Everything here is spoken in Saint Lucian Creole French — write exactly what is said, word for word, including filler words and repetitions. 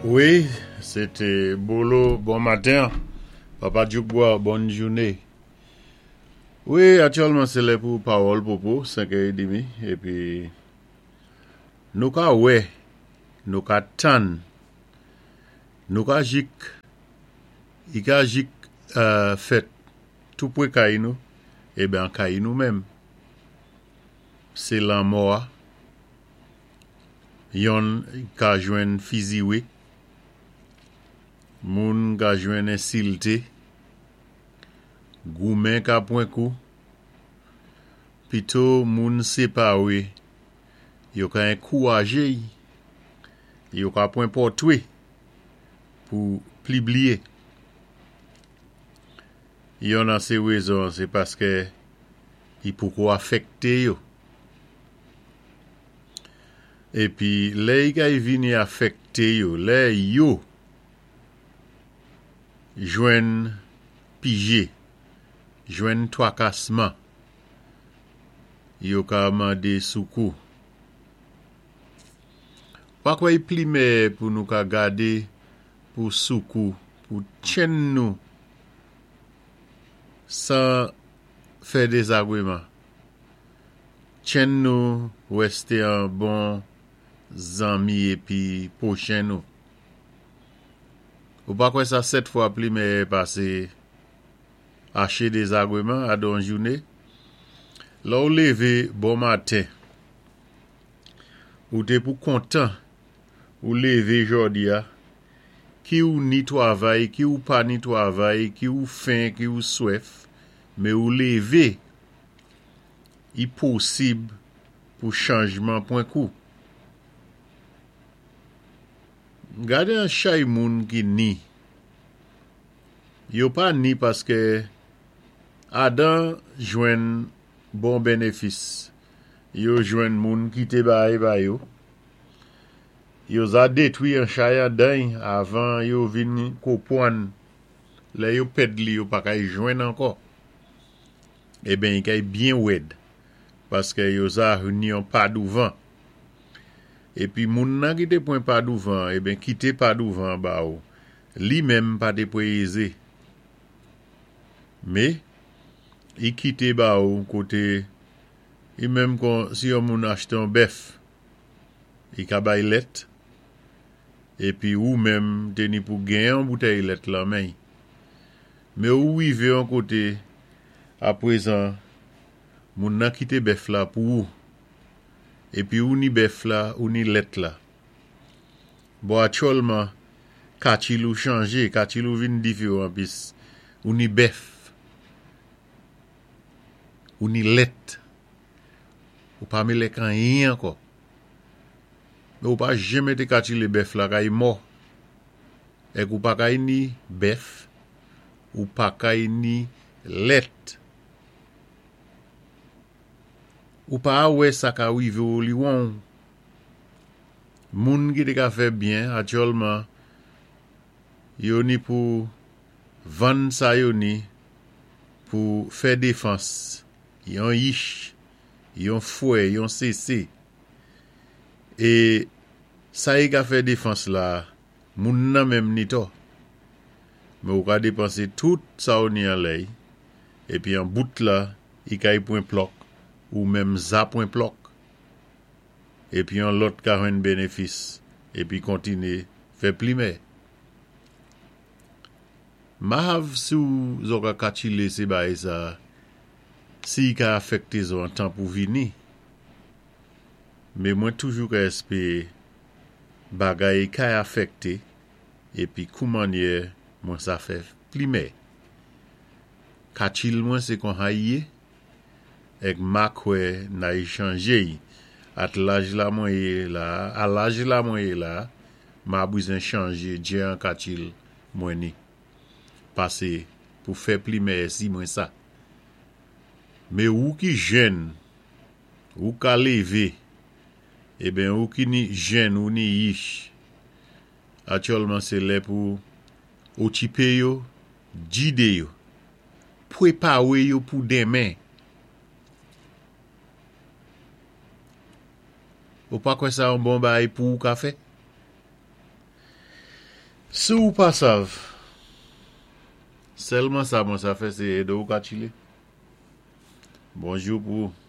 Wi, sé Bolo, bon maten. Papa Djoukbois, bòn jouné. Wi, aktyèlman sé lè pou Pawòl Popo, senkè é demi, épi nou ka wè, nou ka tann, nou ka jik, i ka jik euh, fèt tou pwé kay nou, eben an kay nou menm. Sé lanmò a, yonn ka jwenn fiziwé, moun ka jwenn ensilté, goumen ka pwan kou, pito moun séparé, yo ka ankourajé, yo ka pwan pòtwé pou pibliyé. Yonn an sé wézon, sé paské i poko afèkté yo. Épi lè i kay vini afèkté yo, lè yo jwenn pijé, jwenn twakasman, yo ka mandé soukou. Pa kwè i pli mèyè pou nou ka gadé pou soukou, pou tchenn nou san fè dézagwéman. Tchenn nou wèsté an bon zanmi épi pwochen nou. Ou pa kwè sa sèt fwa pli mèyè pasé aché dézagwéman adan jouné? Lè ou lévé bon maten, ou té pou kontan, ou lévé jòdi a, ki ou ni twavay, ki ou pa ni twavay, ki ou fen, ki ou swèf, mé ou lévé, i posib pou chanjman pwan kou. Gadé an chay moun ki ni. Yo pa ni paské adan jwenn bon bénéfis. Yo jwenn moun kité bagay ba yo. Yo za détwi an chay andan avan yo vin konpwann. Lè yo pèd li yo pa kay jwenn ankò. Eben i kay byen wèd paské yo za ni yon pa douvan. Épi moun nan ki té pwan pa douvan, eben kité pa douvan ba ou, li menm pa té pwéyézé. Mé, i kité ba ou koté, i menm kon si yon moun achté yon bèf, i ka bay lèt, épi ou menm té ni pou gen yon boutèy lèt lan men. Mé ou wivé yon koté, apwézan, moun nan kité bèf la pou ou. Épi ou ni bèf la, ou ni lèt la. Bon, aktyèlman, kachil ou chanjé, kachil ou vin diféwan pis ou ni bèf, ou ni lèt, ou pa mélé ak anyen ankò. Mé ou pa janmé té kachilé bèf la kay mò. Èk ou pa kay ni bèf, ou pa kay ni lèt. Ou pa wè sa ka wivé ou li won. Moun ki té ka fè byen, aktyèlman, yo ni pou vann sa yo ni pou fè défans. Yon yich, yon fwè, yon sésé. É sa i ka fè défans la, moun nan menm ni tò. Mé ou ka dépansé tout sa ou ni anlè, épi an bout la, i kay pwan plòk, ou menm za pwan plòk. Épi yon lòt ka jwenn bénéfis, épi kontiné fè plimè. Mahav si ou zo ka kachile sé bagay sa, si i ka afèkté zo an tan pou vini. Mé mwen toujou ka èspéwé bagay kay afèkté, épi koumannyè mwen sa fè plimè. Kachil mwen sé kon sa i yé, èk ma kwè nay chanjé. At laj la mwen yé la, a laj la mwen yé la, ma bizwen chanjé djé an kachil mwen ni. Pasé pou fè plimè si mwen sa. Mé ou ki jèn, ou ka lévé, eben ou ki ni jèn ou ni yich, aktyèlman sé lè pou okipé yo, gidé yo, pwépawé yo pou denmen. Ou pa kwè sa yon bon bagay pou ou ka fè? Si ou pa sav, sèlman sa mwen sa fè sé édé ou ka tchilé. Bonjou pou ou.